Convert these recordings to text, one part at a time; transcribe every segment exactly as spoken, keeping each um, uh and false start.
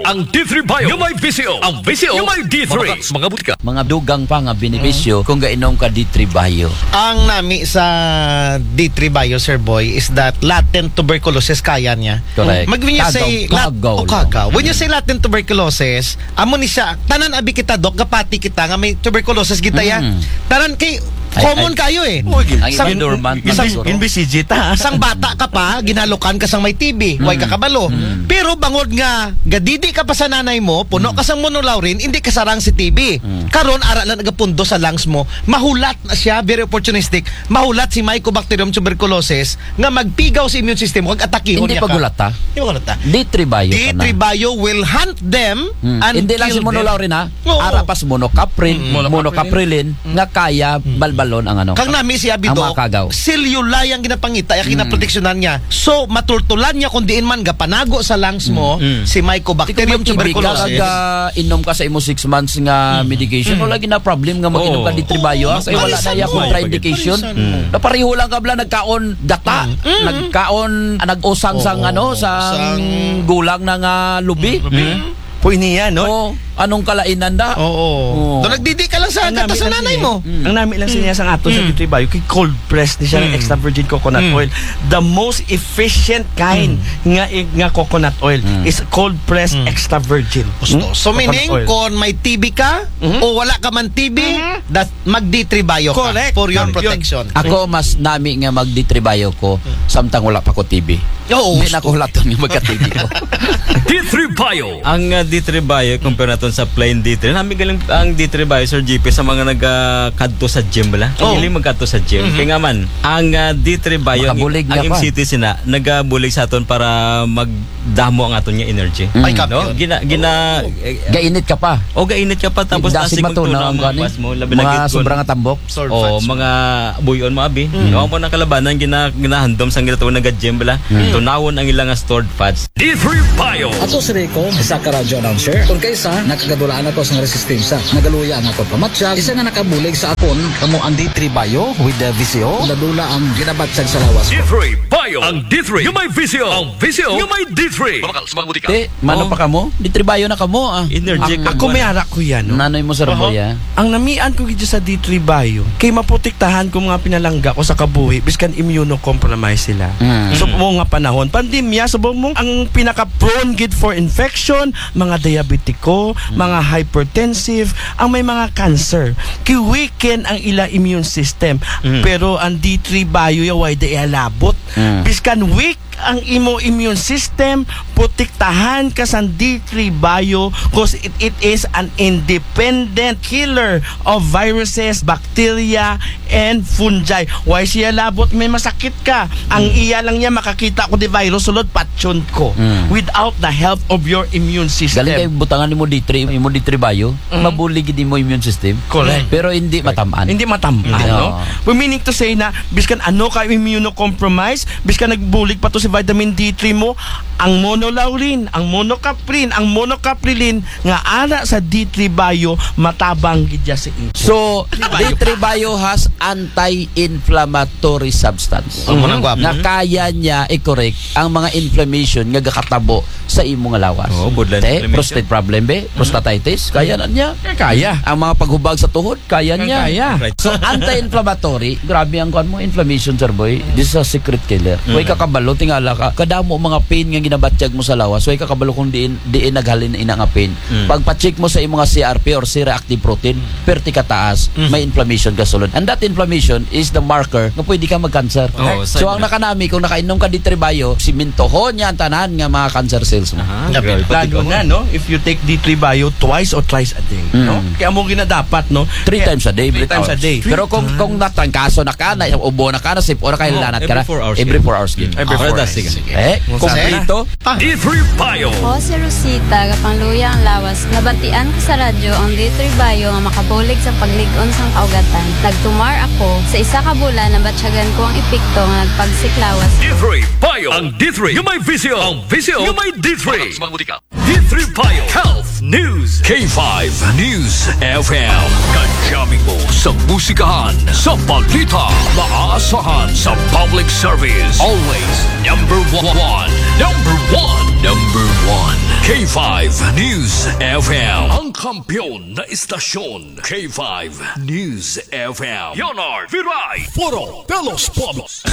Ang D three Bio, yung may visyo. Ang visyo, yung may D three. Mga butika. Mga dugang pa nga benepisyo kung gainom ka D three Bio. Ang nami sa D three Bio, Sir Boy, is that latent tuberculosis kaya niya. Correct. Mag-, when you Kagaw, say lat-, kagaw oh, lang. Kagaw. When you say latent tuberculosis, amo ni siya, tanan abi kita, Doc, gapati kita nga may tuberculosis kita ya. Mm. Tanan kay Ay, common ay. Kayo eh. Uy, Ang sang, iba dormant na sang, siguro. Inbisijita. Sang bata ka pa, ginalukan ka sang may T B, way ka kabalo. Mm. Pero bangod nga, gadidi ka pa sa nanay mo, puno ka sang monolaurin, hindi ka sarang si T B. Mm. Karon, ara lang nagapundo sa lungs mo, mahulat na siya, very opportunistic, mahulat si Mycobacterium tuberculosis, nga magpigaw sa immune system, kag atakihon Hindi niya ka. Pagulata. Hindi pagulata. D three Bio D three Bio will hunt them Mm. and Hindi lang kill si them. Monolaurin, ha? Oo. Ara pas monocaprin, Mm. Monocaprilin, nga kaya balbalon ang ano. Kang nami si Abi, Doc, ang mga kagaw. Selula yang ginapangita, ya Mm. kinaproteksyonan niya. So, matultulan niya kung diin man gapanago sa lungs mo, Mm. si Mycobacterium Kung may T B ka, tuberculosis. Kag, ah, inom ka sa imo six months nga Mm. medication, Mm. wala gina problem nga mag-inom ka Oo. D three Bio, ah, Oo, kay wala na mapalisan ya mo. Contraindication. Mapalisan mo. Mm. Napareho lang ka bala nagkaon gata, Mm. nagkaon, ah, nag-usang sang Oo. ano, sang Sang gulang na nga lubi. Lubi. Mm. Pwede niya, no? Oo. Anong kalainan da? Oo. Oo. Doon nagdidi ka lang sa Ang kata gamit sa lang nanay niya. mo. Mm. Ang nami lang siya sa ato sa Mm. D three Bio, kay cold press ni siya ng Mm. extra virgin coconut Mm. oil. The most efficient kind Mm. nga, nga coconut oil Mm. is cold press Mm. extra virgin. Gusto. Mm? So, Coconut meaning, oil. Kung may T B ka, Mhm. o wala ka man T B, Mhm. that mag-D three Bio ka Correct. for your Yun. protection. Ako, mas nami nga mag-D three Bio ko, samtang wala pa ko T B. Oo, Hindi na gusto. Ko hulaton nga magka-T B ko. D three Bio. Ang, ah, D three Bio, compare naton sa plain D three. Nami galing ang D three Bio, Sir G P, sa mga nagakadto sa gym, bala. Oh. Ang hiling magkadto sa gym. Mhm. Kaya nga man, ang, ah, D three Bio, ang, Makabulig ang nga pa. M C T sina, nagabulig sa aton para magdamo ang aton nga energy. Mm. Ay, No? kampiyon. Gina-, gina-, eh, Gainit ka pa. O, gainit ka pa, tapos Dasig tasig matunaw magtunaw ang ang mga gani. Buwas mo, labi na Mga gid kun sobrang tambok. Sword Oh, fights. Mga buyon mo, abi. Mm. No, amo na kalabanan, gina-, ginahandom sang ginatawag nga gym, bala. Mm. Tunawon ang ilang stored fats. D three Bio. Ato si Rico, isa ka radio announcer. Kung kaysa, nakagadulaan ako sa resistensya. Nagaluya ang akong pamatyag, isa nga nakabulig sa akon, kamo ang D three Bio with the V C O. Dula-dula ang ginabatyag sa lawas ko. D three Bio. Ang D three, yung may visyo. Ang visyo, yung may D three. Mamakal sa mga butika. Te, mano Oh. pa kamo? D three Bio na kamo, ah. Energy Ang ka Ako mo may na. Ara ko yan, no? Nanoy mo sa Oho. Ramboya? Ang namian ko gid sa D three Bio, kay maprotektahan ko mga pinalangga ko sa kabuhi, biskan immunocompromised sila. Mm. So, mo nga panahon, pandemya, so mo ang pinaka-prone gid for infection, mga diabetiko, Mm. mga hypertensive, ang may mga cancer. Kay weaken ang ila immune system. Mm. Pero ang D three Bio, ya, way da ihalabot. Mm. Biskan weak ang imo immune system, protektahan ka sa D three Bio, 'cause it, it is an independent killer of viruses, bacteria, and fungi. Way siya labot may masakit ka. Ang Mm. iya lang niya makakita ko di virus, sulod patyon ko. Mm. Without the help of your immune system. Galing kay butangan nimo D three, imo D three Bio, Mm. mabulig gid imo immune system. Correct. Pero hindi Correct. Matamaan. Hindi matamaan, Hindi. no? Oo. We meaning to say na, biskan ano ka immunocompromised, biskan nagbulig pa to si vitamin D three mo, ang monolaurin, ang monocaprin, ang monocaprilin, nga ara sa D three Bio, matabang gid ya sa imo. So, D three Bio. D three Bio has anti-inflammatory substance. Ang mga Mhm. gwapo. Nga kaya niya i-correct ang mga inflammation nga gakatabo sa imo nga lawas. Oo, borderline Te, inflammation. Prostate problem, be? Prostatitis, kaya na niya. Eh, kaya. Ang mga paghubag sa tuhod, kaya niya. Kaya. Right. So, anti-inflammatory, grabe ang kuwan mo, inflammation, sir boy. This is a secret killer. Mm. Way ka kabalo, tingala ka, kadamo mga pain nga ginabatyag mo sa lawas, way ka kabalo kung diin, diin naghalin ina nga pain. Mm. Pagpa-check mo sa imo nga C R P or C-reactive protein, Mm. perti ka taas, Mm. may inflammation ka sulod. And that inflammation is the marker nga pwede ka mag-cancer. Oo, So, ang nakanami, kung nakainom ka D three Bio, simintohon niya ang tanan nga mga cancer cells mo. Aha, Grabe. grabe. Lalo Pati na, ko. no? If you take D three Bio twice or thrice a day, Mm. no? Kaya mo ginadapat, no? Three Kaya times a day, every three times a four day. Pero kung, kung natrangkaso na ka, na ubo na ka, na sipo na ka, Oh, hilanat ka every na, four hours every yun. four hours yun. Mm. Every four Alright, hours. sige. Eh, Kung kompleto? D three Bio. Ako si Rosita, gapangluya ang lawas. Nabatian ko sa radyo ang D three Bio nga makabulig sa paglig-on sang kaugatan. Nagtumar ako. Sa isa ka bulan, nabatyagan ko ang epekto nga nagpagsik lawas. D three Bio. Ang D three, yung may visyo. Ang visyo, yung may D three. Sa mga butika. Free Bio Health News, K five News F M. Kadyamin mo sa musikahan, sa balita, maasahan sa public service. Always number one, number one, number one. K five News F M. Ang kampiyon na istasyon, K five News F M. Leonard Viray. Foro de los Pueblos.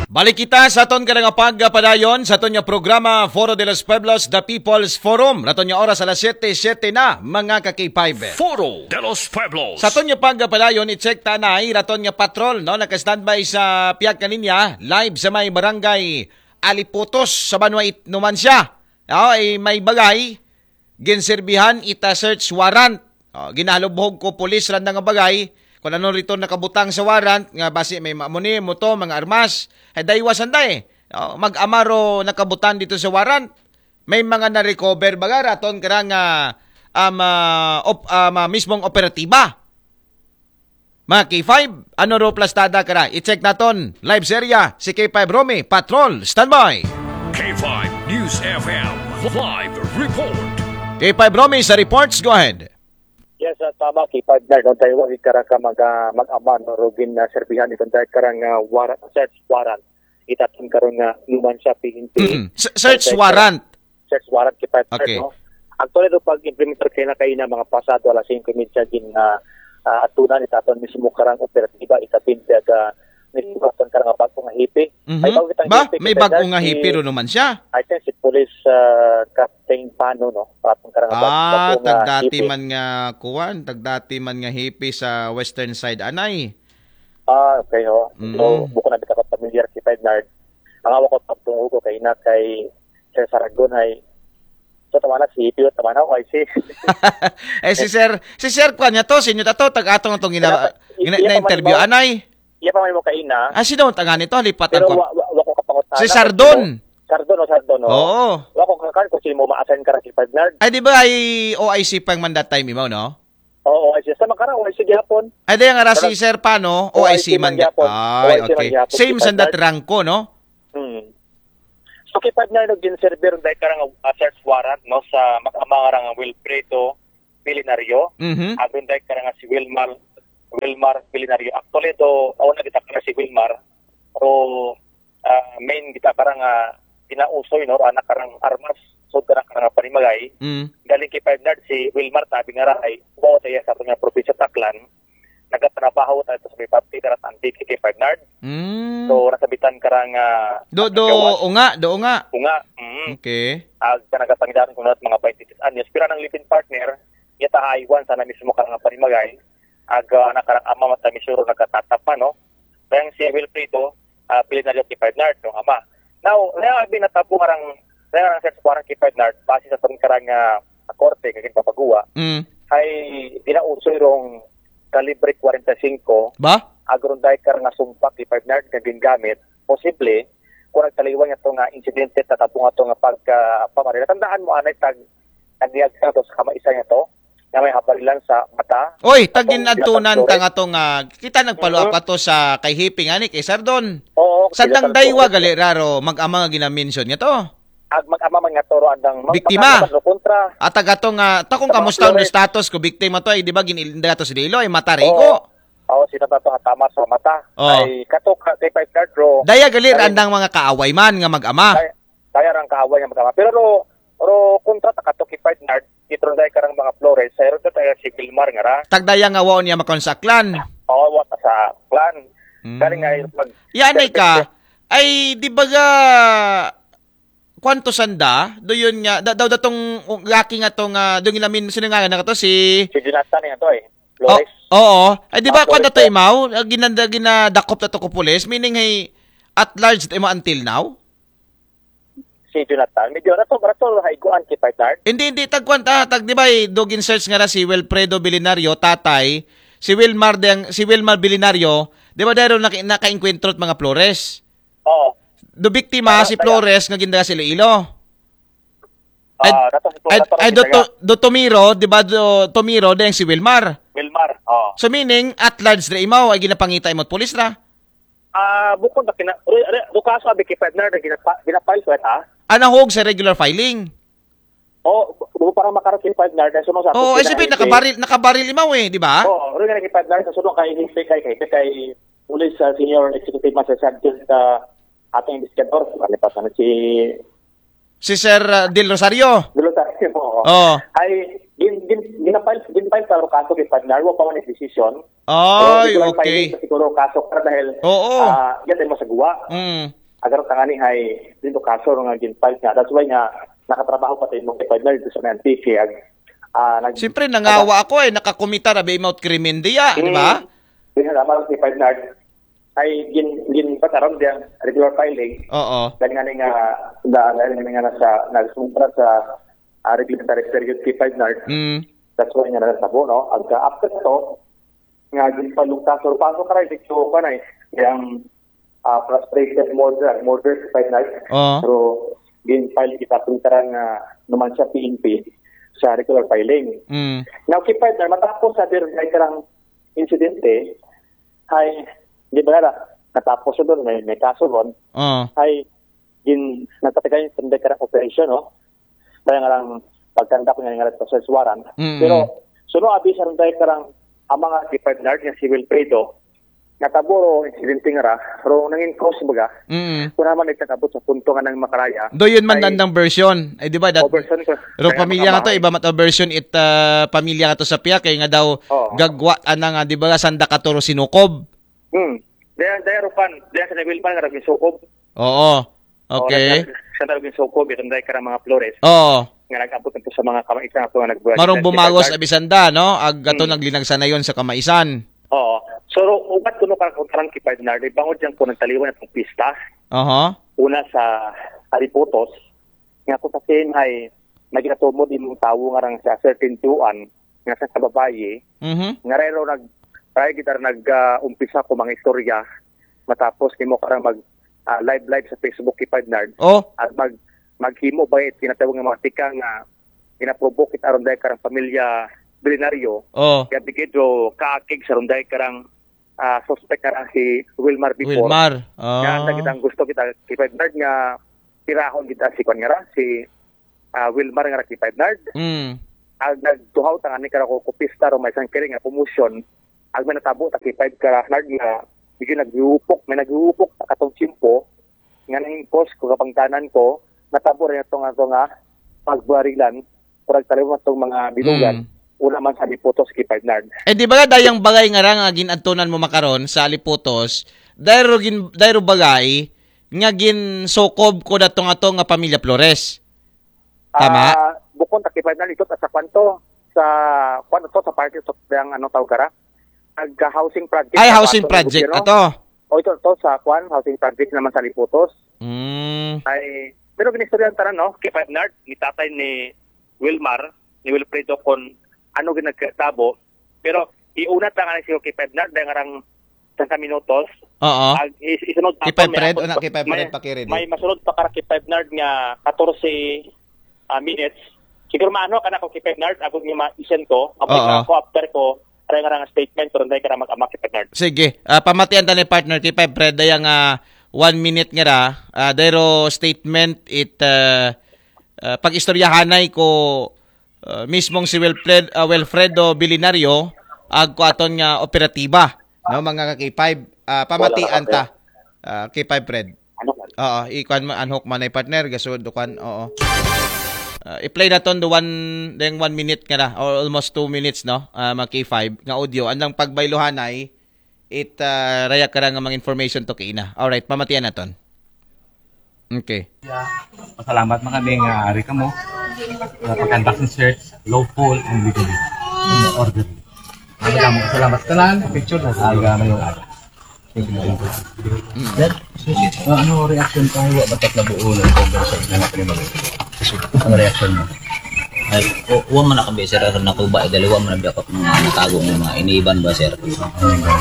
Balik kita sa aton karang pagpadayon sa aton nga programa, Foro de los Pueblos, The People's Forum. Raton nga oras alas siyete, siyete na, mga ka-K five. Foro de los Pueblos. Sa aton nga pagpadayon, i-check ta na, ay raton nga patrol, no? Naka-standby sa pihak nga linya, live sa may barangay Aliputos sa Banwa it Numancia. No, ay may bagay, ginserbihan ita search warrant. Oh, ginahalubhog ko pulis randa nga bagay. Kung ano rito nakabutang sa warrant, nga basi may mamuni mo to, mga armas. Ay daywa sanda eh. Oh, mag-amaro nakabutang dito sa warrant. May mga na-recover baga raton karang ah, um, ah, op, um, ah, mismong operatiba. Mga K five, ano ro plastada kara? I-check naton. Live serya, si K five Romy, Patrol, standby. K five News F M, live report. K five Romy sa reports, go ahead. Yes, uh, tama, K five Nerd. Doon tayo wag karang ka mag, ah, mag-aman, no? Rugin na serbihan itong tayo karang ah, warrant, search warrant. Itatin karong uh, human sa P N P. Mm. S- search warrant. Search warrant, K five Nerd, Okay. No? Actually, do pag-implementar kayo na kayo na mga pasado alas singko medya gin uh, uh, atunan itaton mismo karang operatiba, itatin siya ka mismo karang bago nga hipi. Mhm. May bago kitang Ba? hipi, May K five bago nga si- hipi ro naman siya. I think si Police uh, Captain Pano, no? Patong karang Ah, bago nga tagdati hipi. Man nga kuwan, tagdati man nga hipi sa western side anay. Ah, okay, ho. Mm. So, buko na bitaw ka familiar si Five Nerd. Ang awak ko pagtungo ko kay na kay Sir Saragon ay so tama na si Pio, tama na, okay si. Eh si Sir, si Sir kuan niya to, sinyo ta to, tag-atong atong gina, Kaya, gina, iya pa man na-interview mo. anay. Iya pa man mo kaina. Ah, sino ang tanga nito? Halipat Pero ang kuan. wa, wa, wa ko kapangutana. Si Sardon. Sardon o Sardon, o. Oo. Wa ko kakan kung sino mo ma-assign ka si Five Nerd. Ay, di ba ay O I C pang man that time, imaw, no? Oo, ay siya. Sa makara, O I C gihapon. Ay, di ang ara si Sir Pano, O I C man. O I C man gihapon. Ay, O I C man okay. gihapon. Same Si sa Sir that rank ko, no? Hmm. So, kay Five Nerd, nag-server dahil karang uh, search warrant, no, sa mag-ama karang Wilfredo Pilinaryo. Mhm. Agun dahil karang si Wilmar, Wilmar Pilinaryo. Actually, do, ako na kita karang si Wilmar. Pero, ah, main kita karang uh, pinausoy, no, anak karang armas, so karang karang panimagay. Mm. Galing kay Five Nerd, si Wilmar, tabi nga rahay, buo tayo sa kanya probinsya Taklan. Nagatrabaho tayo sa may pati, karang antique kay Five Nerd. Mm. So, nasabitan karang uh, Do, do, unga, do, unga. Unga, mm. Okay. Ag nagapangidaran ko na mga twenty-six anyos. Pero ang living partner, yata haiwan sana mismo karang panimagay. Ag uh, nakarang ama matamisuro nagkatatapa, no? Kaya si Wilfredo, uh, Pilinaryo kay Five Nerd, no, ama. Now, kaya ang binatabo karang, kaya ang search warrant kay Five Nerd, base sa tong karang uh, korte, kagin papagawa, Mm. ay ginausoy rong kalibre forty-five, Ba? agron dahil karang sumpak kay Five Nerd nga gingamit, posible, kung nagtaliwan niya to nga insidente, tatabo nga to nga pagka pamarila. Tandaan mo, anay, tag, nagyag sa to sa kamaisan niya to, nga may habarilan sa mata. Oy, tagin adtunan ta nga to nga kita nagpalo-up ato sa kay Hipi nga ni kay Sardon. Oo, Sandang kailangan daywa to. Gali raro mag-ama nga ginamention niya to. Ag mag-ama man nga to ro andang Biktima. Lo kontra. At taga to nga, ta kung Sa mga kamusta ang Flores. Status ko, biktima to, ay di ba gin-, dato sa Iloilo, ay matarigo. Oo, si tata to nga tama sa mata. Oo. Ay, kato ka, kay Five Nerd, bro. Daya gali Ay, andang mga kaaway man nga mag-ama. Kaya, kaya rang kaaway nga mag-ama. Pero ro, ro kontra ta kato kay Five Nerd, itron dahil karang mga Flores, sa ron tayo si Wilmar nga ra. Tagdaya nga waon niya makonsaklan. Oo, wa ta sa clan. Mm. Galing nga yung pag... Yan ay ka, ay di ba ga, kwanto sanda? Do yun nga, da, daw datong gaki nga to nga, do gilamin, sino nga na to? Si... Si Jonathan nga to eh. Oh, Flores. Oo. Ay di ba Ah, kwan na to Flores. Imaw? Ginanda, ginadakop na to ko pulis? Meaning hey, at large to Imaw until now? Si Jonathan. Medyo rato, rato, haiguan kay Five Nerd. Hindi, hindi, tagkwan ta, tag, di ba, eh, dugin search nga na si Wilfredo Bilinario, tatay, si Wilmar, deng, si Wilmar Bilinario, di ba, dahil naka, naka-encuentro at mga Flores. Oo. Do biktima Ah, si kaya- Flores nga ginda si Iloilo. Ay, Ah, rato si ay, rato ay, si do, kaya- to, do Tomiro, di ba, do Tomiro, deng si Wilmar. Wilmar. Oh. So, meaning, at large na imaw, ay ginapangita imot pulis ra. Ah, bukod na kina, re, re, do kaso abi kay Five Nerd, ginapa, ginapile ko ah. Anahog sa regular filing. O, bu-, para makaroon kay partner, dahil sunod sa Oo, atong eh, sabi, pinainti. Nakabaril, nakabaril imaw eh, di ba? Oo, rin nga kay partner, sa sunod kay Hipe, kay, kay, kay Police, ah, Senior Executive Master Sergeant, ah, atong investigador, ano pa sana si Si Sir, ah, Del Rosario. Del Rosario, oo. Oo. Ay, gin, gin, ginapile, ginapile sa kaso kay partner, wa pa man ang decision. Ay, pero ito lang okay. Filing sa siguro kaso para dahil, Oo. ah, yan tayo masagawa. Mm. Agar tangani ay, dito kaso nga ginfile nga. That's why nga, nakatrabaho pa tayo mong partner dito sa Antique. Ag, ah, nag- Siyempre, nangawa ako eh, nakakumita na ba mouth krimen diya, di ba? Hmm. Yun nga, naman si partner. Ay, gin, gin, pataram diya, regular filing. Oo. Dahil nga nga, da-, dahil nga nga nasa, nagsumpra sa, ah, reglementary period kay partner. Mm. That's why nga nasa sabo, no? Ag, ah, after to, nga ginpalong kaso, kaso karay, dito pa na eh. Yung, ah, frustrated murder, murder si partner. Oo. Pero, ginfile kita pintaran nga naman siya P N P sa regular filing. Mm. Now, kay partner, matapos sa dir-, may karang insidente, ay, di ba na, natapos yun doon, may, may kaso doon. Oo. Ay, gin, nagtatagay yung karang operation, no? Kaya nga lang, pagkanda ko nga nga sa search warrant. Mm. Pero, suno abi sa runday karang, ang mga kay partner nga si Wilfredo, nataboro, insidente nga ra, pero nangin cause baga, Mm. kung naman nagtakabot sa punto nga nang makaraya, Do yun man ay, dandang version. Eh, di ba? That, o version ko. Pero Kaya pamilya nga to, makamahal. Iba mat o version it, ah, pamilya nga to sa piya, kay nga daw Oo. gagwa, ana nga, di ba, sanda katuro sinukob? Hmm. Daya, daya rupan, daya sa Wilmar nga naging sukob. Oo. Okay. Sa naging sukob, itong dahil karang mga Flores. Oo. Nga nag-abot nito sa mga kamaisan ako nga nagbuhat. Marong bumagos abisanda, no? Ag ato naglinagsan na yun sa kamaisan. Oo. So, ro-, ugat ko no karang, karang kay partner, di bangod dyan ko nagtaliwan itong pista. Aha. Una sa Aliputos, nga ko sa same ay naginatumod imong tawo nga rang sa certain tuan, nga sa kababayi, Mhm. nga rero nag, ray kita nag, ah, umpisa ko mga istorya, matapos nimo karang mag, ah, live live sa Facebook kay partner. Oh. At mag, maghimo ba it kinatawag nga mga tika nga ginaprovoke it aron dahil karang pamilya Bilinaryo. Oh. Kaya bigidro kaakig sa runday karang, ah, suspect karang si Wilmar before. Wilmar. Oh. Nga, ang kitang gusto kita kay partner nga tirahon kita si kwan nga ra, si, ah, Wilmar nga ra kay partner. Mm. Ag nagtuhaw ta nga ni karako ko pista ro may isang kering nga promotion. Ag may natabo ta kay partner nga medyo naghiupok, may naghiupok sa katong tiyempo nga nanging cause ko kapangtanan ko, natabo rin ito nga, ito nga pagbarilan, kurag taliwan itong mga binugan, Mm. una man sa Aliputos kay partner. Eh, di ba dayang bagay nga ra nga ginadtunan mo makaron sa Aliputos, dayro gin-, dayro bagay nga ginsukob ko datong ato nga pamilya Flores? Tama? Ah, bukon ta kay partner ito sa kwanto, sa kwanto sa party to, ang ano tawag kara? Nag-housing project Ay, sa housing kwanto ng project gobyerno. Ato. O ito, to sa kwan, housing project naman sa Aliputos. Mm. Ay, pero ginistoryahan tanan, no? Kay Bernard, ni tatay ni Wilmar, ni Wilfredo, kung ano ginagkatabo. Pero iuna ta nga na siya kay Bernard, dahil nga rang sangka minutos. Oo. Ag is-, isunod Kay pa, may Fred, abot una, pa, kay Fred may, pakirin. May masunod pa kara kay Bernard nga katorse, ah, minutes. Siguro maano ka na ko kay Bernard, abot nga ma-isend ko, abot Oo. na ako after ko, aray nga nga statement, pero hindi ka na mag-amak kay Bernard. Sige, ah, pamatian ta ni partner kay Fred, daya nga one minute nga ra, ah, dayro statement it, ah, ah, pag-istoryahanay ko, ah, mismong si Wilfred, ah, Wilfredo Bilinario, ag ko aton nga operatiba, no, mga ka-K five, ah, pamatian Wala na, ta, ah, K five Fred. Ano ka? Oo, ikuan mo, unhook man ay partner, gasud, kuan, oo. Ah, i-play naton do one, deng one minute nga na, or almost two minutes, no? Ah, mga K five, nga audio. Andang pagbaylohanay, it, ah, raya ka nga mga information to kay ina. Alright, pamatian naton. Okay. Pasalamat man kami nga ari kamo. Sa pag-conduct ng search, lawful and legally. Orderly. Salamat, salamat tanan. Picture na sa mga mayong araw. Sir, susi, ah, ano reaction ka? Wa ba tatlabuo ng conversation na natin mag-, ano reaction mo? Ay, o, wa man na kami, sir, aron nakuba, eh, dali wa man na biya ka mga natago ng mga iniban ba, sir?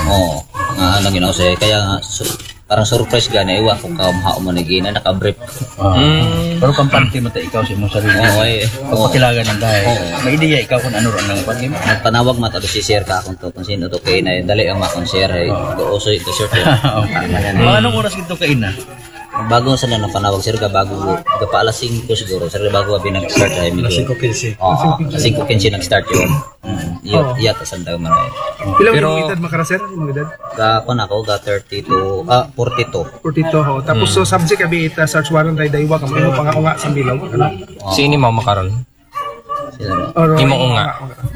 Oo, nga, ano, ginaw, sir, kaya nga, su-, parang surprise gani, iwa ko ka, mahao mo na gina, nakabrief. Ah. Mm. Pero kampante mo ta ikaw sa imong sarili. Oo, eh. Pagpakilagan ng dahil. Oo. May ideya ikaw kung ano ron ang pag-, Nagpanawag man ta si sir ka kung to, kung sino to kay na, dali ang makon sir, eh. Oo. Go, usoy to, sir. Okay. Mga anong oras ito kayo na? Bago sa na napanawag, sir, ka bago, ka pa alas singko siguro, sir, bago abi nag-start ay medyo. Alas singko kinse. Oo, alas singko kinse nag-start yun. Mm, iyo, Oo. Iya, ta sa daw man ay. Pila Pero- yung edad makara, sir? Yung edad? Ka, kung ako, ka thirty-two, ah, forty-two. Forty-two, ho. Tapos, Hmm. so, subject abi ita search warrant ay daywa, kamo, yung pangaunga sa bilog. Ano? Oo. Sino mo makaron? Sila na. Oro, Imo ko nga.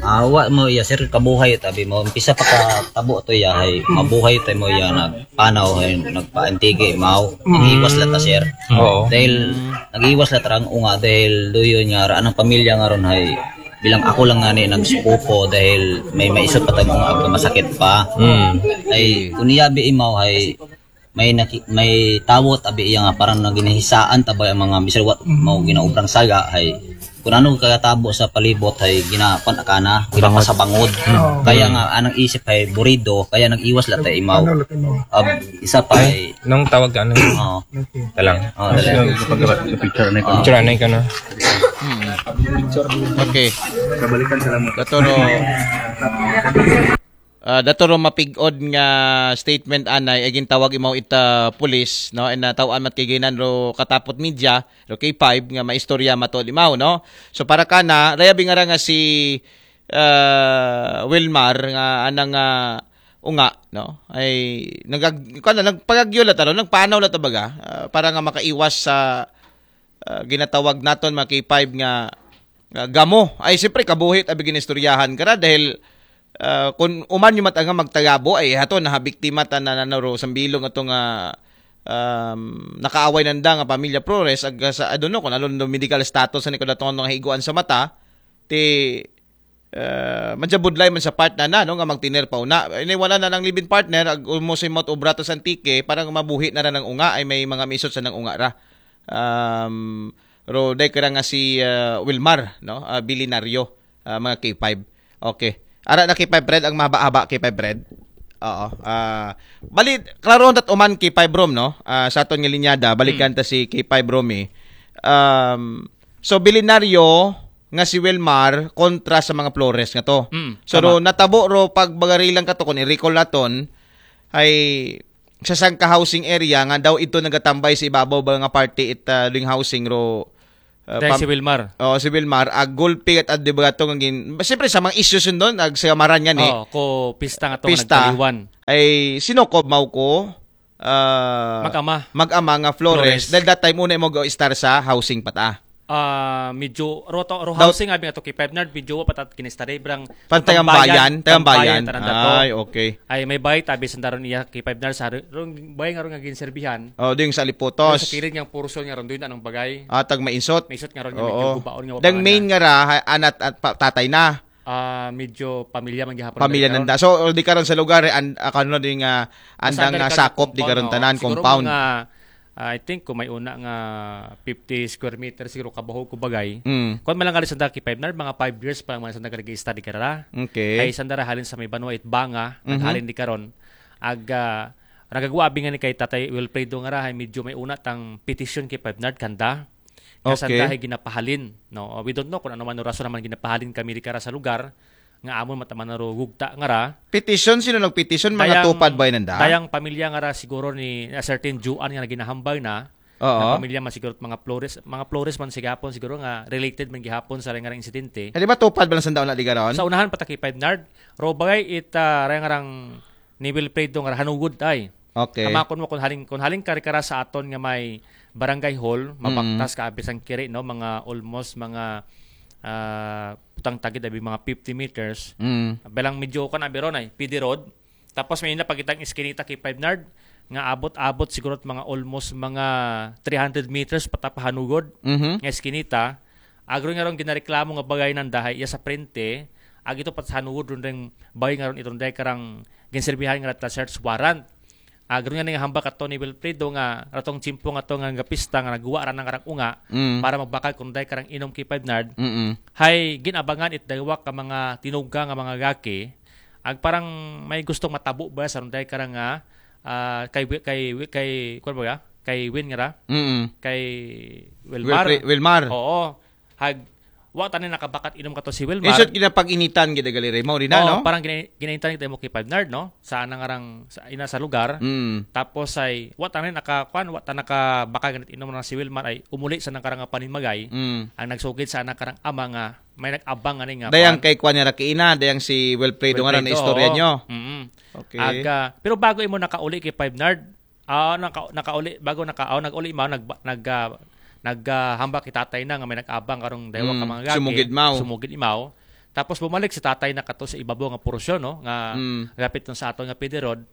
Ah, wa mo iya, sir, kabuhay tabi mo. Umpisa pa ka tabo to iya, hay mabuhay tayo mo iya, nagpanaw, hay nagpaantigi, mao. Mm. Nag-iwas la ta, sir. Oo. Dahil nag-iwas la ta rang unga, dahil duyon nga ra anang pamilya nga ron, hay bilang ako lang nga ni nagsuko dahil may maisot pa tayo mga agka masakit pa. Mm. Ay, kung iyabi imaw, hay may naki, may tawot abi iya nga parang naginahisaan tabay ang mga misalwat mo ginaobrang saga, hay kung ano kagatabo sa palibot, hay ginapan akana, ginapasabangod. Oo. Kaya nga anang isip, hay burido, kaya nag-iwas la ta imaw. Ano, laki mo? Ab, isa pa, hay Nung tawag ka, ano? Oo. Okay. Talang. Oh, dali. Picture na ikaw. Picture na ikaw, no? Okay. Kabalikan, salamat. Dato ro, ah, dato ro mapig-od nga statement anay, ay gintawag imaw ita pulis, no? And nataw-an mat kay ginan ro katapot media, ro K five nga maistorya mato limaw, no? So para kana, raya bingara nga si ah, Wilmar nga anang ah, unga, no? Ay nagag kana nagpagagyo la taro, nagpanaw la tabaga, ah, para nga makaiwas sa ah, ginatawag naton mga K five nga ah, gamo. Ay siyempre kabuhit abi ginistoryahan kara dahil ah, kung uman yung matanga magtagabo ay hato na biktima ta na nanaro sambilong ato nga um, nakaaway nanda nga pamilya Flores ag sa I don't know kung ano no medical status ni kudaton nga higuan sa mata ti ah, madya budlay man sa part na na, no, nga magtiner pa una. Ini wala na ng live-in partner, ag umusay mo obra to sa Antique, para nga mabuhi na ra ng unga, ay may mga misot sa nang unga ra. Um, ro, day kira nga si ah, Wilmar, no, ah, Bilinaryo, ah, mga K five. Okay. Ara na K five Red, ang mahaba-haba K five Red. Oo. Ah, bali, klaro dat uman K five Rom, no? Ah, sa aton nga linyada, balikan ta si K five Rom eh. Um, so, Bilinaryo, nga si Wilmar kontra sa mga Flores nga to. Mm, So, tama. ro, natabo ro pag bagarilang ka to, kung i-recall naton, ay sa sangka housing area nga daw ito nagatambay sa ibabaw ba nga parte it ah, doing housing ro. Ah, Dahil pam- si Wilmar. Oo, si Wilmar, ag gulpi at adibagato nga gin... Siyempre, sa mga issues yun doon, ag sa maran yan eh. Oo, ko pista nga to Pista. Nagkaliwan. Ay, sino ko, mau ko? ah, Mag-ama. Mag-ama nga Flores. Flores. Dahil that time, una mo go star sa housing pa ta. Ah, medyo ro, to, ro Daw- housing abi ato kay Five Nard, medyo wa patat kinista day brang Pan tagambayan, tagambayan. Tagambayan, tanan dato. Ay, okay. Ay may bay tabi sandaron iya kay Five Nard sa ro, ro bay nga ro nga ginserbihan. Oh, ding sa Liputos. Sa kilid nga portion nga ron doon anong bagay. Ah, tag mainsot. Mainsot nga ron nga Oo. Medyo gubaon nga Dang main nga ra ha- anat at pa- tatay na. Ah, medyo pamilya man gihapon Pamilya nanda. So, di karon sa lugar eh, an, ah, kano din nga andang Sa nga sakop di compound, karon no? Tanan Siguro compound. Mga, ah, I think kung may una nga fifty square meter siguro kabahog ko bagay. Mm. Kung malang sa Darky Five Nard, mga five years pa lang mga sa nag-register di karara. Okay. Kay sandara halin sa may banwa it banga, Mhm. naghalin di karon. Ag ah, nagagawa abi nga ni kay Tatay Wilfredo nga rahay medyo may una tang petition kay Five Nard kanda. Kasan Okay. Dahil ginapahalin, no? We don't know kung ano man ang rason naman ginapahalin kami di kara sa lugar nga amon mataman na ro gugta nga ra. Petition, sino nagpetition? Mga Dayang- tupad ba yun ang daan? Dayang pamilya nga ra siguro ni a certain Juan nga ginahambal na. Oo. Na pamilya man siguro mga Flores, mga Flores man sigapon siguro nga related man gihapon sa nga insidente. Hindi ba tupad ba lang sa daon na ligaron? Sa unahan pa ta kay Five Nard, ro bagay it ah, rayang rang ni Wilfredo nga hanugod ay. Okay. Tama kun mo kun haling kun haling kari kara sa aton nga may barangay hall, Mm. mabaktas ka abi sang kiri no, mga almost mga ah, putang tagid abi mga fifty meters. Mm. Belang medyo kan abi ron ay P D Road. Tapos may napakitang iskinita kay Five Nard nga abot-abot siguro mga almost mga three hundred meters patapahanugod Mhm. nga iskinita. Agro nga ron ginareklamo nga bagay nanda hay iya sa prente, ag ito pat sa hanugod ron ring bagay nga ron itong day karang ginserbihan nga ta search warrant. Agro nga ning hambal kato ni Wilfredo nga ratong tiyempo nga to nga gapista nga nagwa ra ng karang unga Mm. para magbakal kung day karang inom kay Five Nard. Mm-mm. Hay ginabangan it daywa ka mga tinuga nga mga gaki. Ag parang may gustong matabo ba sa ron day karang nga ah, kay Wi- kay Wi- kay kuwan ba ya? Kay Win nga ra? Mm-mm. Kay Wilmar. Wilfre- Wilmar. Oo. Hag wa ta ni nakabakat inom kato si Wilmar. Isot ginapag-initan gid gali ray mo rin na, Oh, no? Parang gina- ginaintan kita mo kay Five Nard, no? Sa anang arang sa ina sa lugar. Mm. Tapos ay wa ta ni naka kuan, wa ta nakabaka ganit inom na si Wilmar ay umuli sa nang karang panimagay. Mm. Ang nagsugid sa anang karang ama nga may nag-abang ani nga Dayang kuan. Kay kuan niya ra kiina, dayang si Wilfredo nga ra na Wilfredo, istorya oo. nyo. Mm. Okay. Aga, pero bago imo nakauli kay Five Nard, ah naka, nakauli bago naka oh, naguli mo nag nag ah, nag ah, hambak kay tatay na nga may nag-abang karong daywa ka Mm, mga gagi. sumugid imaw. Sumugid imaw. Tapos bumalik si tatay na kato sa ibabaw nga porsyon, no, nga Mm. gapit nun sa ato nga P D Road.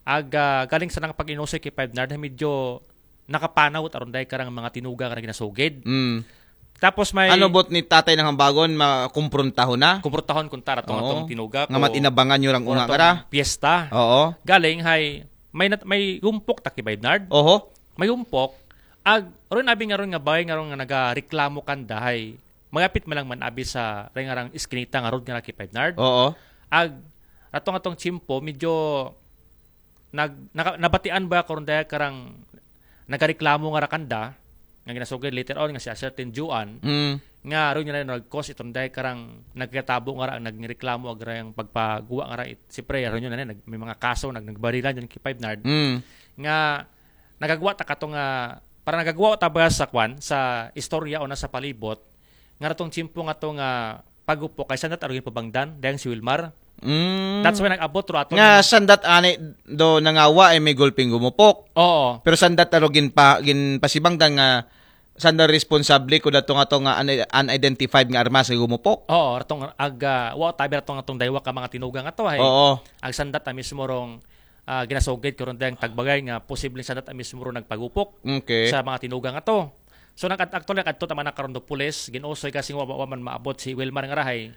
Aga, galing sa nang pag-inusay kay Five Nard, medyo nakapanaw aron dahil karang mga tinuga nga ginasugid. Mm. Tapos may Ano bot ni tatay nang hambagon, makumprontaho na? Kumprotahon kung tara tong Oo. atong tinuga Nga matinabangan nyo rang unga nga ra. Piyesta. Oo. Galing hay may nat- may gumpok ta kay Five Nard. Oho. May gumpok. Ag ron abi nga ron nga bagay nga ron nga nagareklamo kanda hay magapit man lang man abi sa ring arang iskinita nga road nga ra kay Five Nard. Oo. Ag atong atong tiyempo medyo nag naka, nabatian ba karon daya karang nagareklamo nga ra kanda nga ginasugid later on nga si a certain Juan Mm. nga ron nga nag-cause itong dahil karang nagkatabo nga ra ang nagreklamo ag rayang pagpaguwa nga ra it, siyempre ron yun na nag, may mga kaso nag nagbarilan yun kay Five Nard Mm. nga nagagwa ta kato nga para nagagwa ta ba sa kwan sa istorya o na sa palibot nga ratong tiyempo nga to nga pagupo kay sandat arugin pabangdan dayang si Wilmar. Mm. That's why nag-abot ro ato Nga sandat ani do nangawa ay may gulping gumupok. Oo. Pero sandat arugin pa ginpasibangdan nga sanda responsable ko dato nga to nga un- unidentified nga armas nga gumupok. Oo, ratong aga wa tabi ratong atong daywa ka mga tinuga nga to ay. Oo. Ag sandat a mismo rong ah, ginasugid karon dayang tagbagay nga posibleng sandat a mismo ro nagpagupok Okay. Sa mga tinuga nga to. So nag actually nag-adto ta man na karon do pulis, ginusoy kasi wa, wa man maabot si Wilmar nga rahay.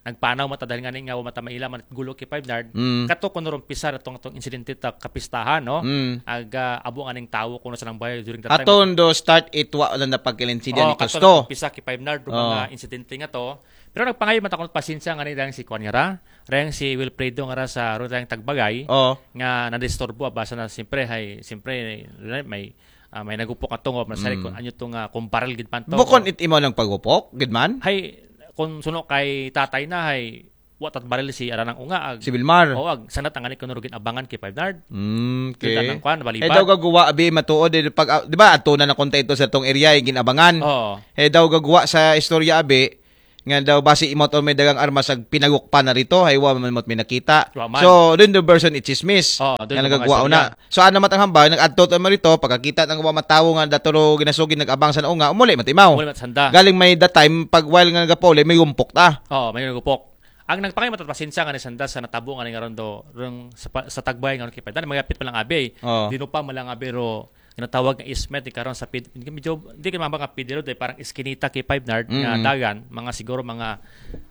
Nagpanaw mata dahil nga ni nga wa mata maila man gulo kay Five Nard. Mm. Kato kuno ron pisar atong atong insidente ta kapistahan, no? Mm. Aga abo nga ning tawo kuno sa nang bayo during that time. Aton do start it wa lang na pagkilinsinya Oh, ni kato Tusto. Pisa kay Five Nard do Oh. mga insidente nga to. Pero nagpangayo man ta kuno pasensya nga ni dayang si Kwan nga ra. Dayang si Wilfredo nga ra sa ro dayang tagbagay Oh. nga nadisturbo basa na siyempre hay siyempre may ah, may nagupok nga tungo masari Mm. kung ano to nga kung baril gid man to. Bukon it imaw nang pagupok, gid man? Hay kung suno kay tatay na hay wa tat baril si aranang unga ag. Si Wilmar. O ag sanat ang ani kuno ginabangan kay Five Nard. Mm, Kita okay. nang kwan, Eh balibat. daw gagawa abi matuod eh, pag ah, di ba adto na nakunta ito sa tong area yung ginabangan. Oo. Eh daw gagawa sa istorya abi nga daw basi imot on may dagang armas ag pinagukpan na rito, hay wa man imot may nakita. Wa man. So, dun the version it chismis. Oo, dun Nga yung mga nagagawa istorya. na. So, ano man ang hambal, nag-adto to man rito, pagkakita ng mga matawo nga daturo ginasugid nag-abang sa naunga, umuli man timaw. Wala man sanda. Galing may that time, pag while nga nagapauli, may gumpok ta. Oo, may nagupok. Ang nagpangay matat pasensya nga ni sanda sa natabo nga ni nga ron do rong sa, pa- sa tagbay nga ron kay Five Nard, magapit pa lang abi. Oo. Dino pa man lang abi ro ginatawag nga ismet di karon sa pid, medyo di ka mabang nga pidiro dahil parang iskinita kay Five Nard nga Mm. dagan, mga siguro mga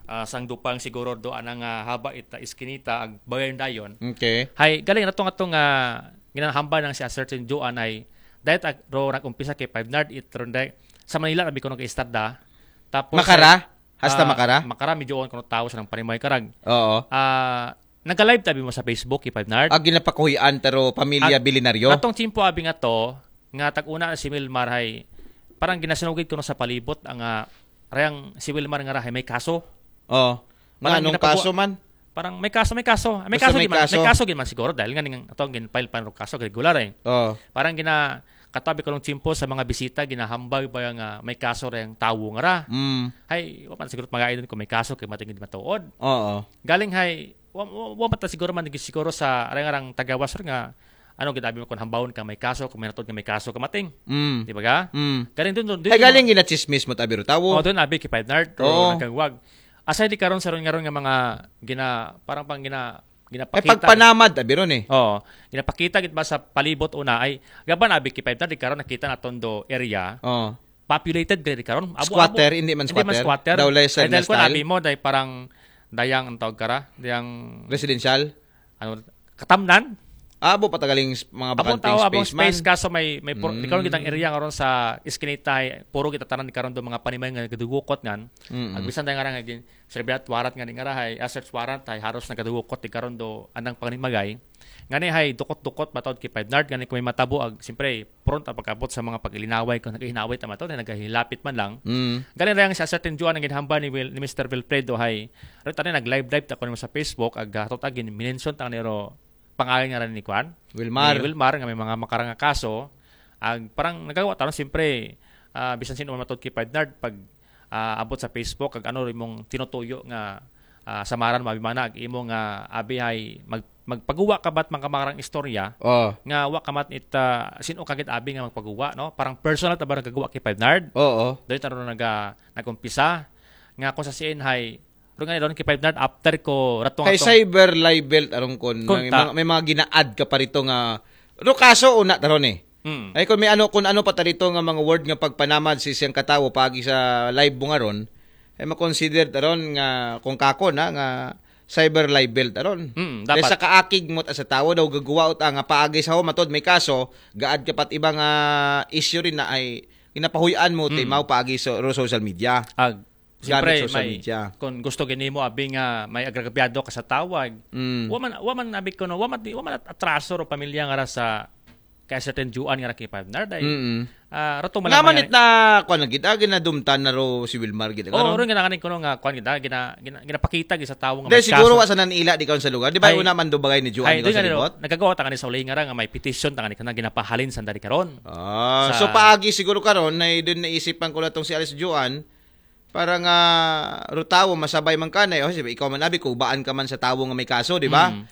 ah, sangdupang siguro do anang ah, haba ita iskinita ag bagayon dayon. Okay. Hay galing na to nga to nga ginahamba nang si a certain Joan ay dahil ag ro nag-umpisa kay Five Nard it ron dahil sa Manila abi ko nag-istada. Tapos Makara? Hasta ah, Makara? Makara medyo on kuno tawo sa nang panimay karag. Oo. Ah, nagka-live tabi mo sa Facebook kay Five Nard. Ag ginapakuhian taro pamilya Ag- Bilinaryo. Atong tiyempo abi nga to, nga tag-una na si Wilmar hay parang ginasinugid kuno sa palibot ang ah, rayang si Wilmar nga rahay may kaso. Oh. Nga Parang anong ginapagawa- kaso man? Parang may kaso, may kaso. May Basta kaso, may gid man, kaso. May kaso gid man siguro dahil nga ning atong gin-file pa ro kaso kay regular eh. Oh. Parang gina katabi ko ng tiyempo sa mga bisita ginahambag ba nga may kaso rayang tawo nga ra. Mm. Hay, wa man siguro magayon kung may kaso kay matingin di matuod. Oo. Galing hay wa, wa, wa mata siguro man siguro sa rayang arang tagawas ra nga ano ginabi mo kung hambawon ka may kaso, kung may natod nga may kaso ka mating. Mm. Di ba ga? Mm. Galing dun dun. dun Ay, yung galing mga- ginachismis mo tabi ro tawo. Oh, doon abi kay Five Nard, Oo. nagkagwag. Aside di karon sa ron nga ron nga mga gina parang pang gina Eh, ginapakita. pagpanamad abi ron eh. Oo. Ginapakita gid ba sa palibot una ay gaban abi kay Five Nard di karon nakita naton do area. Oh. Populated gid di karon. Abo, Squatter, abo. Hindi man Hindi man squatter. Squatter. Daw lay Ay, dahil ko style. Nabi mo dahil parang dayang ang tawag kara, dayang Residential. Ano katamnan. Abo pa tagaling s- mga Abong bakanting tao, abong space man. Space kaso may may puro, Mm. di karon gitang area nga ron sa iskinita ay puro kita tanan di karon do mga panimay nga gadugukot ngan. Mm-mm. Agbisan tayo nga nga gin serbiat warrant nga di nga rahay, ah, search warrant ay haros nagadugukot di karon do anang panimagay. Ngani hay dukot-dukot matod kay Five Nard, ngani kung may matabo, ag, siyempre, front ang pagkabot sa mga pag-ilinaway, kung naghihinaway ta matod, nagahilapit man lang. Mm. Galing lang sa certain Juan ang ginhamba ni, Will, ni Mister Wilfredo hay, rin tani nag-live-live ta ko nimo sa Facebook, ag, ah, totag, minention ta niro pangalan nga rin ni Kwan. Wilmar. Ni Wilmar, nga may mga makarang nga kaso. Ag, parang nagawa taron, siyempre, ah, bisan sino man matod kay Five Nard, pag, ah, abot sa Facebook, ag ano rin mong tinutuyo nga, ah, samaran mo, abi mana, ag imo nga, abi hay, mag, magpaguwa ka ba't mga makarang istorya, Oh. nga wa ka mat it, ah, sino kagit abi nga magpaguwa, no? Parang personal ta ba nagagawa kay Five Nard? Oo. Doon taron naga, nag-umpisa. Nga kung sa siin hay, pero nga doon kay Five Nard, after ko, rato Kay nga to. Cyber Libel, aron kon, Kon may ta. mga, may mga gina-add ka pa rito nga, ro kaso, una, taron eh. Mm. Ay, kung may ano, kung ano pa tarito nga mga word nga pagpanamad si siyang katawo pagi sa live mo nga ron, ay makonsider taron nga kung kako na nga cyber libel taron. Mm, Dahil dapat. Sa kaakig mo ta sa tawo daw gagawa ut nga paagi sa ho matod may kaso, gaad ka pat iba nga issue rin na ay ginapahuyan mo ti Mm. mao paagi sa ro social media. Ag, Gamit siyempre, social may, media. Kung gusto gini mo, abi nga may agrabyado ka sa tawag. Mm. Wa man, wa man abi ko no, wa man, wa man at-, atraso ro pamilya nga ra sa kay certain Juan nga ra kay Five Nard ay. Mm. Ah, rato Nga man man it na kuan na gid, ah, ginadumtan na ro si Wilmar gid. Oh, Ano? Ro nga nakanin ko no nga kuan gid, ah, gina, gina, ginapakita gid sa tawo nga Dahil may siguro kaso. Wa sa nanila di karon sa lugar. Di ba Ay, una man do bagay ni Juan Ay, di karon doon sa nga libot? Nagagawa ta nga ni sa uli nga ra nga may petition ta nga ni kana ginapahalin sa dari karon. Ah, Sa- so paagi siguro karon ay din naisipan ko na tong si Alice Juan para nga rutawo masabay man kanay. O, sige, ikaw man abi, kubaan ka man sa tawo nga may kaso, di ba? Mm.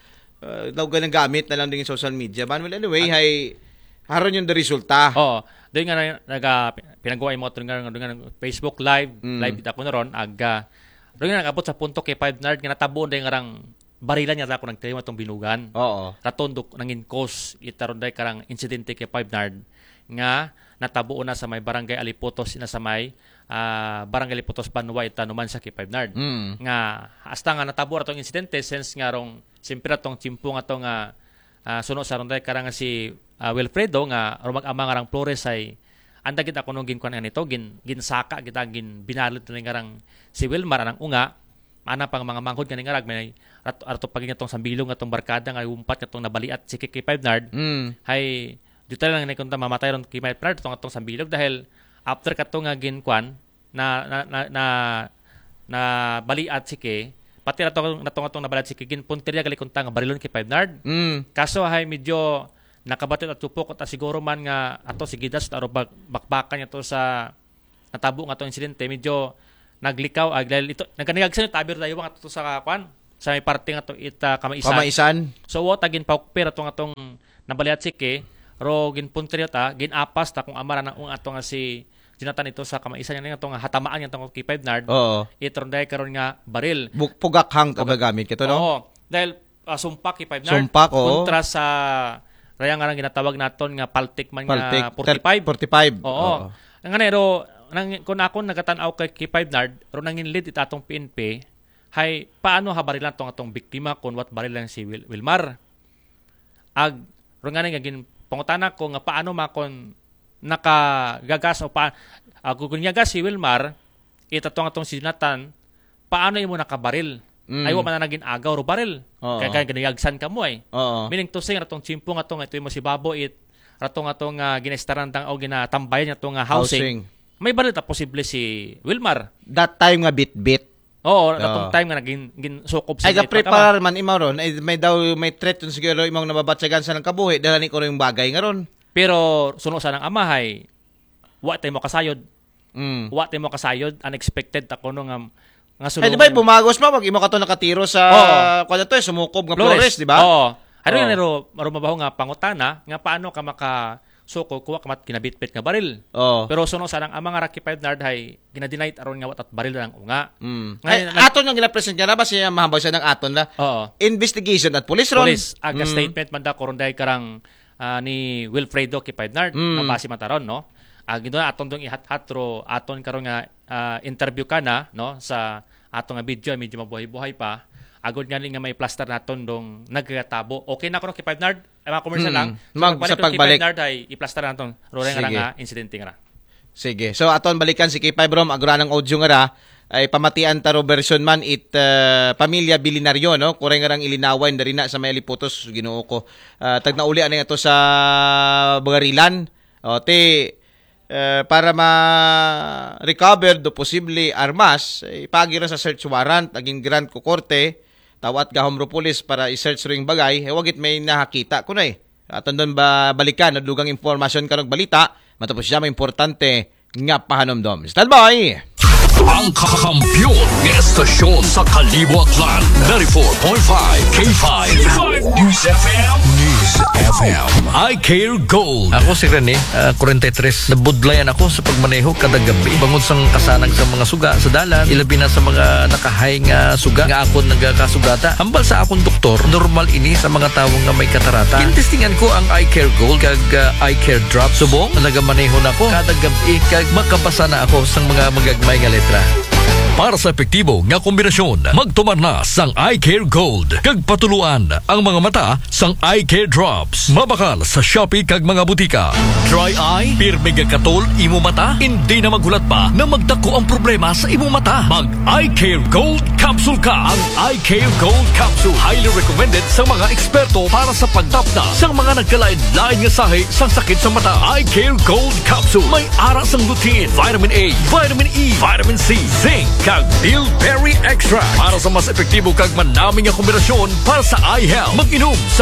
Uh, daw ganagamit na lang din yung social media. But well, anyway, hay haron yung resulta. Oo. Doon nga na- naga pinagawa mo nga, nga, nga Facebook live, Mm. live kita ko na ron, aga. Doon nga nag-abot sa punto kay Five Nard nga natabo na yung arang barilan nga ako nagtayo atong binugan. Oo. Raton do nangin cause itaron day karang insidente kay Five Nard nga natabo na sa may barangay Aliputos na sa may ah, barangay Aliputos Banwa itanuman sa kay Five Nard. Mm. Nga hasta nga natabo ratong insidente since nga rong simpira tong tiyempo nga to nga ah, suno sa ronday karang si ah, Wilfredo nga rumag-ama nga rang Flores ay anda gid ako nung ginkuan nga nito, gin, ginsaka gid ang gin binalit na nga rang si Wilmar anang unga, ana pang mga manghod nga ningarag may rat, rato pagin atong sambilog nga tong barkada nga umpat nga tong nabaliat si Kiki Five Nard. Mm. Hay dito lang ni kunta mamatay ron kay Five Nard tong atong sambilog dahil after kato nga ginkuan na na na, na, na baliat si Kiki, pati na tong natong atong nabaliat si Kiki, ginpuntirya gali kunta nga barilon kay Five Nard. Mm. Kaso hay medyo nakabatit at tupok at siguro man nga ato sige das taro bak, bakbakan niya to sa natabo nga tong insidente, medyo naglikaw ag dahil ito nagkanigagsan yung tabir dayo nga to sa kwan sa may parte nga to ita kamaisan. Kamaisan. So wa ta ginpaukpir ato nga tong nabaliat si Kiki, ro ginpuntirya ta, ginapas ta kung amara na ung ato nga si Jonathan ito sa kamaisan nga to nga hatamaan nga tong kay Five Nard. Oo. Itron dahil karon nga baril. Buk pugakhang kagagamit kito, no? Oo. Dahil ah, sumpak kay Five Nard. Sumpak, oo. Kontra sa raya nga ginatawag naton nga paltik man Paltik. nga forty-five. Forty-five. Oo. Ang nga ro, nang, kung ako nagatan-aw kay, kay Five Nard, ro nangin lead it atong P N P, hay, paano ha barilan tong atong biktima kung what barilan si Wil, Wilmar? Ag, ro nga nga gin, pangutana ko nga paano makon nakagagas o pa, ag, kung nyagas si Wilmar, ita tong atong si Jonathan, paano imo nakabaril? Mm. Ay, wa man na naging agaw ro baril. Oo. Kaya, kaya ginayagsan ka mo ay. Oo. Meaning to say, ratong tiyempo nga to nga ito mo si Babo it, ratong atong uh, ginaestaran dang o ginatambayan niya to nga housing. Housing. May baril ta posible si Wilmar. That time nga bitbit. Oo, ratong Oo. time nga naging gin, sukob sa Ay, ga-prepare man imaw ron. Ay, may daw, may threat yung siguro imong nababatsagan sa nang kabuhi. Dahil ni ko yung bagay nga ron. Pero suno sa nang amahay, wa tayo mo kasayod. Mm. Wa tayo mo kasayod. Unexpected ta kuno nga, nga Ay, di ba, sulungan. bumagos pa pag imo kato nakairo sa, Oo. kuwan na to, eh, sumukob nga Flores, di ba? Oo. Ano Oo. yan, ro, ro mabaho nga pangutana, nga paano ka makasuko, kuha ka mat kinabitbit nga baril. Oo. Pero suno sa nang ama nga Rocky Five Nard hay, ginadinay aron nga watat baril lang unga. Mm. Ngayon, Ay, nag- aton nga gina-present ka na ba siya mahabag siya ng aton na? Oo. Investigation at police ron. Police, aga Mm. statement man da, kuron dahil karang ah, ni Wilfredo Kipaidnard, Mm. mabasi mataron, no? Ag ito na aton dong ihat-hat ro, aton karon nga ah, interview ka na, no? Sa ato nga video, medyo mabuhay-buhay pa. Agod nga ni nga may plaster naton dong nagkatabo. Okay na kuno Kipaidnard? Ay, mga commercial Mm. lang. So, Mag-, magbalik sa ro pagbalik. Kipaidnard ay iplastar naton. Ro rin nga Sige. nga incident nga ra. Sige. So, aton balikan si K five Rom, agura ng audio nga ra. ay pamatian taro version man it ah, pamilya Bilinaryo, no? Kuray nga rang ilinawan dari na sa may aliputos, Ginoo ko. Ah, tagnauli anay ato sa Bugarilan. O, ti, eh, para ma-recover do posible armas, eh, ipagi ra sa search warrant, aging grant ko korte, tawat gahom ro pulis para i-search ring bagay, eh, wagit may nakakita ko na eh. Aton doon ba balikan, no? Dugang impormasyon kanog balita, matapos siya may importante nga pahanumdom. Standby! Ang kakampiyon ng estasyon sa Kalibo Aklan, ninety-four point five K five News F M. News F M. I Care Gold. Ako si Rene, ah, forty-three. Nabudlayan ako sa pagmaneho kada gabi. Bangod sang kasanag sa mga suga sa dalan, ilabi na sa mga nakahay nga suga nga akon nagakasugata. Hambal sa akong doktor, normal ini sa mga tawo nga may katarata. Gintestingan ko ang Eye Care Gold kag ah, Eye Care Drop. Subong, nagamaneho na ko kada gabi kag makabasa na ako sa mga magagmay nga letra. Para sa epektibo nga kombinasyon, magtumar na sang Eye Care Gold kag patuluan ang mga mata sang Eye Care Drops. Mabakal sa Shopee kag mga butika. Dry eye, pirmi nga katol imo mata, hindi na maghulat pa na magdako ang problema sa imo mata. Mag Eye Care Gold Capsule ka. Ang Eye Care Gold Capsule highly recommended sa mga eksperto para sa pagtapna sa mga nagkalain-lain nga sahi sang sakit sa mata. Eye Care Gold Capsule may ara sang lutein, vitamin A, vitamin E, vitamin C, zinc, kag bilberry extract para sa mas epektibo kag manami nga kombinasyon para sa eye health. Mag-inom sa